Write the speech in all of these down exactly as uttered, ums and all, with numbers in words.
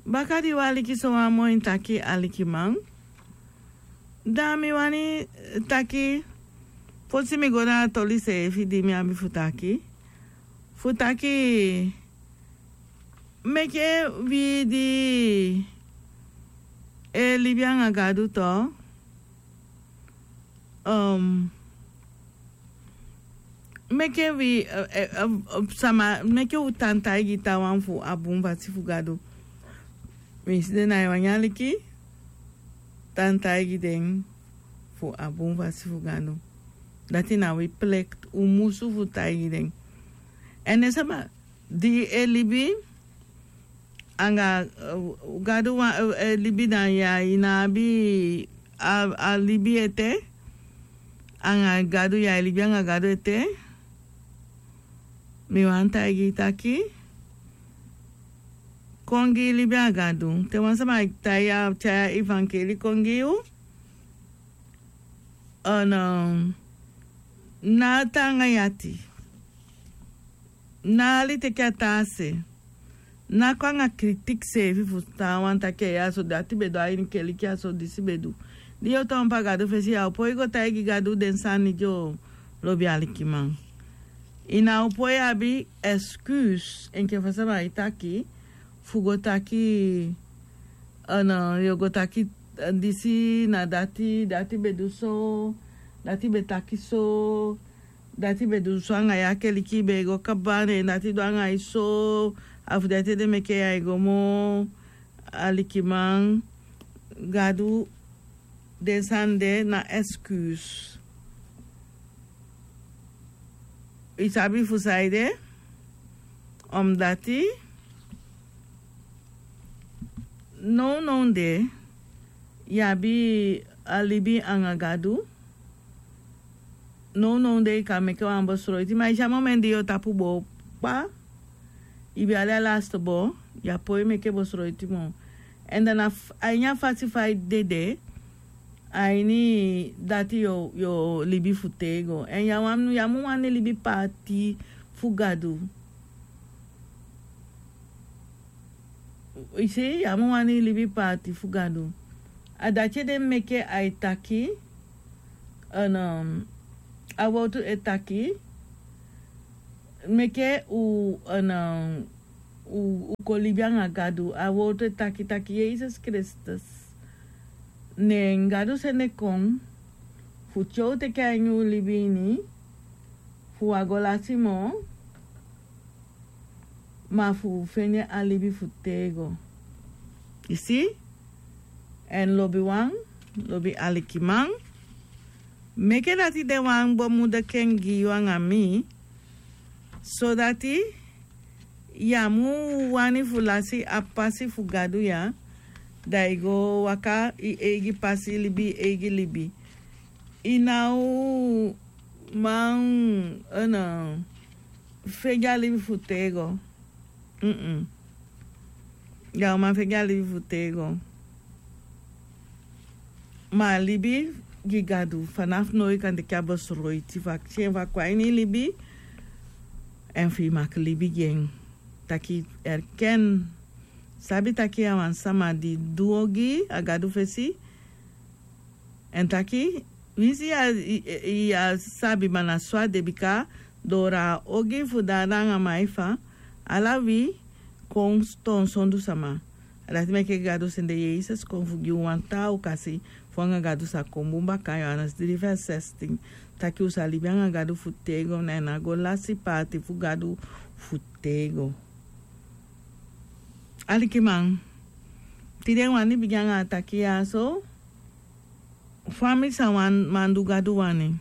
Baka di wi aliki sowan moi taki, alikiman, da mi wani taki, fosi mi go na a toli seefi di mi abi fu taki, fu taki, meke wi di e libi anga Gadu tu, meke wi, sama, meke u tan taigi taawan fu a bun fasi fu Gadu. Winsi den nái wani aliki, tan taigi den fu a bun fasi fu Gadu. Dati na wi plekti, u musu fu taigi den. Èn den sama di e libi anga Gadu, wan e libi na ya, i ná abi a libi ete anga Gadu, ya e libi anga Gadu ete. Mi wani taigi i taki, kon gi i libi a Gadu. Te wan sama e tyai a evankeli kon gi yu, ná tan anga yu ati. Ná hali teke a taa se. Ná kon anga kritiki seefi fu taawan taki, ya so dati be du a ini keliki, ya so disi be du. Di yu o tan opo a Gadu fesi, ya o poi go taigi Gadu den sani di yu o lobi, alikiman. I ná o poi abi excuse enke fa sama e taki, fu go taki, yu o go taki, disi na dati, dati be du so, dati be taki so, dati be du so anga yu, a keliki be go kaba, ne dati du anga yu so, a fu dati ede meke yu e go moo, alikiman. Gadu, den sani de na excuse. I sabi fu saide? Omdati nownow de yu abi a libi anga Gadu. Nownow de i kan meke wan besroiti, ma i si a momenti di yu o tapu boo kpa, i be hali a lasti boo, yu á poi meke besroiti moo. Èn dan a ini a fasi fa i dede, a ini dati yu o libi fu tego. Èn yu á mu wani libi paati fu Gadu. I si, yu á mu wani libi paati fu Gadu. A dati ede meke ai taki, a wowtu e taki, meke u, u kon libi anga Gadu. A wowtu e taki taki Yesus Kristus, ne Gadu sende kon fu tyai u teke a ini u libi ini, fu u á go lasi moo, ma fu u fende a libi fu tego. I si? Èn lobiwan, lobi alikiman, meke dati de wan bemudeken gi yu anga mi, sodati yu á mu wani fu lasi a pasi fu Gadu ya, da i go waka i eigi pasi, libi i eigi libi. I ná o man fende a libi fu tego. Mm-mm. Ya o man fende a libi fu tego. Ma a libi gi Gadu, fanafu now i kan teke a besroiti fu akisi en fu a kon a ini i libi, èn fu i maki libi gi en. Taki erken, sabi taki a wan sama di du ogii a Gadu fesi, èn taki, winsi yu á sabi, ma na so a de, bika doo a ogii fu Dada anga Maifa, ala wi kon toon sondu sama. A dati meke Gadu sende Yesus kon fu gi u wan taa okasi fu anga Gadu sa kon bun baka, Johannes dri vers zestien. Taki u sa libi anga Gadu fu tego, na en a go lasi paati fu Gadu fu tego. Alikiman, tide wani bigin anga a taki ya so, fa mi sa wani man du Gadu wani.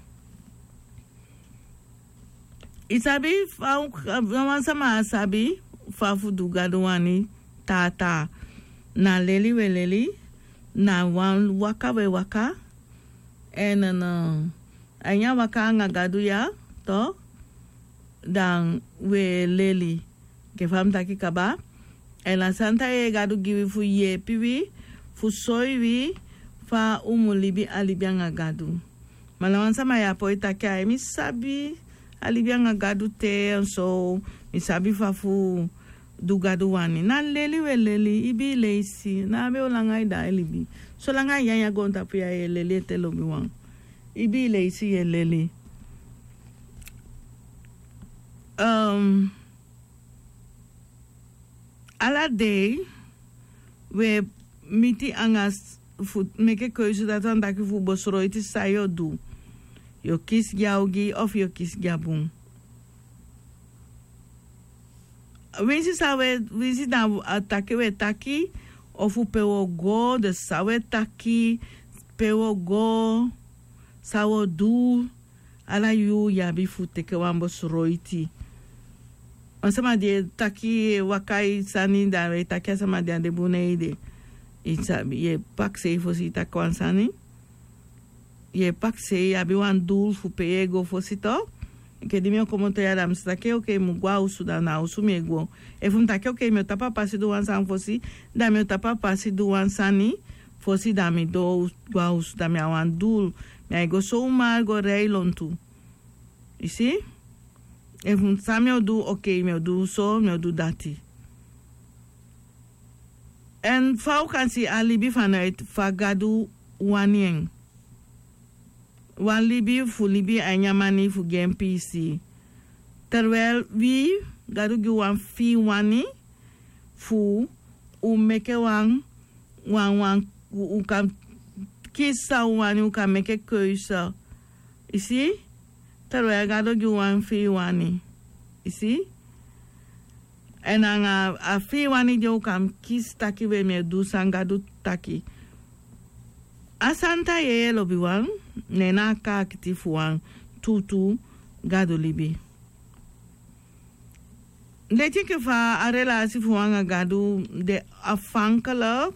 I sabi fa, wan sama á sabi fa fu du Gadu wani tata. Na leli we leli, na wan waka we waka, èn a ini a waka anga Gadu ya, to, dan we leli. Enke fa mi taki kaba, èn a santa yeye Gadu gi wi fu yeepi wi, fu soi wi fa u mu libi a libi anga Gadu. Ma na wan sama ya poi taki, ai, mi sabi a libi anga Gadu te, èn so mi sabi fa fu du Gadu wani. Na leli wi e leli, ibii leisi, na a be o langa i de a e libi. Solanga i nyanyan goontapu ya yu e leli ete lobiwan. Ibii leisi yu e leli. Ehm, ala dei wi e miti anga s- fu meke keuze, dati wani taki fu besroiti san yu o du. Yu o kisi gi a ogii of yu o kisi gi a bun. Winsi san wi e, winsi na a taki wi e taki, ofu pe wi o go, dus san wi e taki, pe wi o go, san wi o du, ala yuu yu abi fu teke wan besroiti. Wan sama di e taki, e waka e sani, da wi e taki a sama di a de bun na ede. I sabi, yu e pakisei fosi i taki wan sani. Yu e pakisei, yu abi wan dul fu pe yu e go fosi to. Enke di mi o komoto ya, da mi sa taki, okei, mi mu go a osu, da na a osu mi e go. Efu mi taki, okei, mi o tapu a pasi du wan sani fosi, da mi o tapu a pasi du wan sani fosi, da mi doo go a osu, da mi abi wan dul. Mi á e go somar go rei lontu. I si? Efu san mi o du, okei, mi o du so, mi o du dati. Èn fa u kan si a libi vanuit fa Gadu wani en. Wan libi fu libi a ini a mani fu gi en piisii. Terwijl wi, Gadu gi u wan fii wani fu u meke wan, wan, wan, u, u kan kisi san u wani, u kan meke keuze. I si? Terwijl Gadu gi u wan fii wani. I si? Èn anga a fii wani de u kan kisi taki we mi e du san Gadu taki. A santa yeye lobiwan, ne na a kaakiti fu wan tuutuu Gadu libi. Leti enke fa a relasi fu u anga Gadu de afhankelijk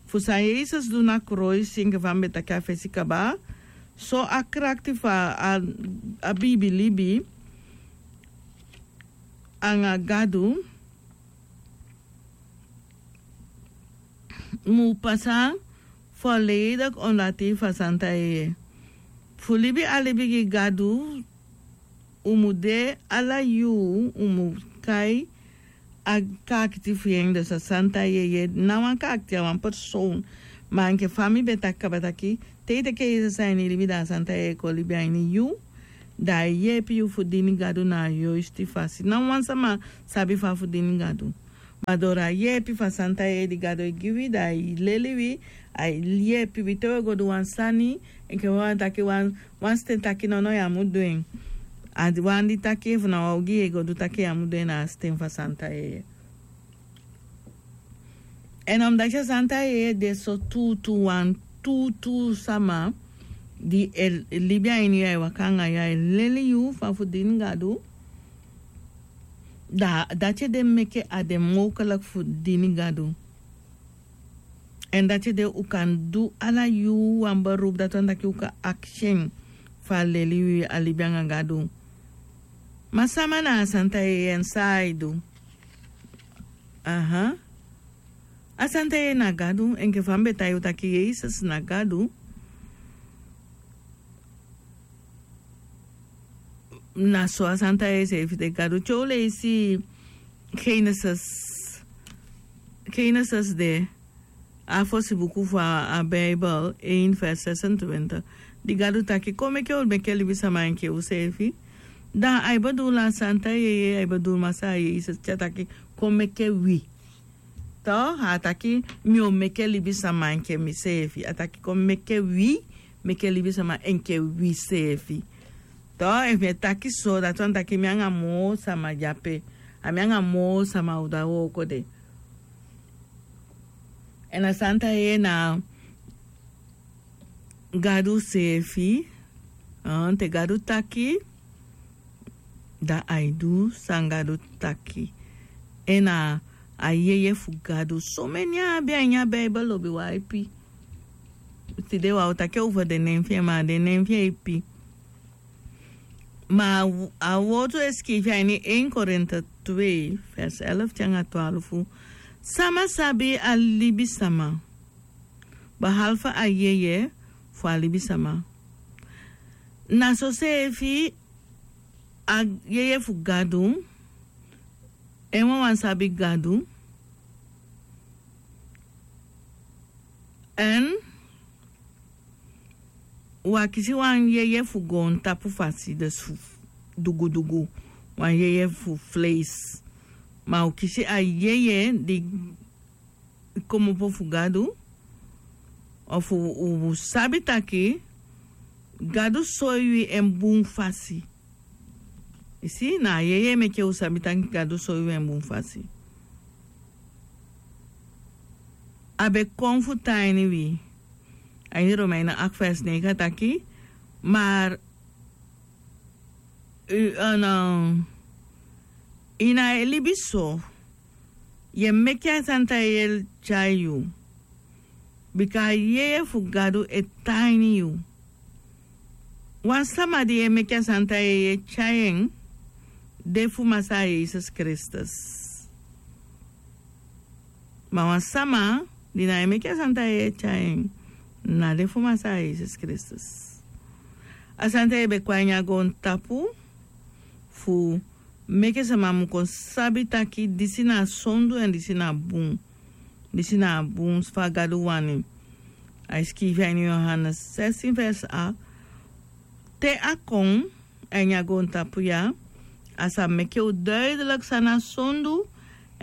fu san Yesus du na koloisi, enke fa mi be taki a fesi kaba. So a krakti fu a, a biibi libi anga Gadu mu pasa volledig ondati fu a santa yeye. Fu libi a libi gi Gadu, u mu de ala yuu, u mu kai a kaakiti fu en, dus a santa yeye. Na wan kaakiti, a wan persoon. Ma enke fa mi be taki kaba taki, te i teke Yesus a ini i libi, da a santa yeye kon libi a ini yu. Da a e yeepi yu fu dini Gadu na a yoisti fasi. Ná wan sama sabi fa fu dini Gadu. Ma doro a yeepi fu a santa yeye di Gadu e gi wi, da a e leli wi, a e yeepi wi te wi e go du wan sani, enke wan taki wan, wan sten taki nono, yu á mu du en. A di wan di taki efu na wan ogii yu e go du, taki yu á mu du en, na a sten fu a santa yeye. Èn omdati a santa yeye de so tuutuu, wan tuutuu sama di e libi a ini yu, a e waka anga yu, a e leli yu fa fu dini Gadu. Da dati ede meke a de mogelijk fu dini Gadu. Èn dati ede u kan du ala yuu wan beroep, dati wani taki u kan akisi en fu a leli wi a libi anga Gadu. Ma sama na a santa yeye, èn san a e du? Aha. A santa yeye na Gadu, enke fa mi be taigi u taki Yesus na Gadu. Na so a santa yeye seefi de. Gadu, te u leisi Genesis, Genesis de, a fosi buku fu a, a Bijbel, één vers zesentwintig. Di Gadu taki, kon meke u meke libisama enke useefi. Da a e bedoel a santa yeye, a e bedoel Masaa Yesus, te a taki, kon meke wi. To, a taki, mi o meke libisama enke miseefi. A taki, kon meke wi, meke libisama enke wiseefi. To, efu mi e taki so, dati wani taki mi anga moo sama de ape. A mi anga moo sama u du a wooko de. Èn a santa yeye na Gadu seefi, ah, te Gadu taki, da ai du san Gadu taki. Èn a, a yeye fu Gadu. Someni a abi a ini a Bijbel lobiwan ipi. Tide wi á o taki over den nen fi en, ma den nen fi en ipi. Ma a wortu e sikiifi a ini één Korinte twee, vers elf te anga twaalf. Sama sabi a libisama, behalve a yeye fu a libisama. Na soseefi a yeye fu Gadu En wan wan sabi gadu. Èn wi a kisi wan yeye fu goontapu fasi dus fu dugudugu, wan yeye fu fleisi. Ma u kisi a yeye di komopo fu gadu. Ofu u sabi taki gadu soi wi en bun fasi. Isi na a yeye meke u sabi taki gadu soi wi en bun fasi. A be kon fu tan ini wi. A ini romeina akti fesi neigi a taki, mar ini a e libi so, yu e meke a santa yeye tyai yu. Bika a yeye fu gadu e tan ini yu. Wan sama di e meke a santa yeye tyai en de fu masaa yesus kristus. Ma wan sama di na e meke a santa yeye tyai en na de fu masaa yesus kristus. A santa yeye be kon a ini a goontapu fu meke sama mu kon sabi taki disi na a sondu èn disi na a bun. Disi na a bun fa gadu wani. A e skiifi a ini yohanes sestin vers a. Te a kon a ini a goontapu ya, a sa meke u duidelik san na a sondu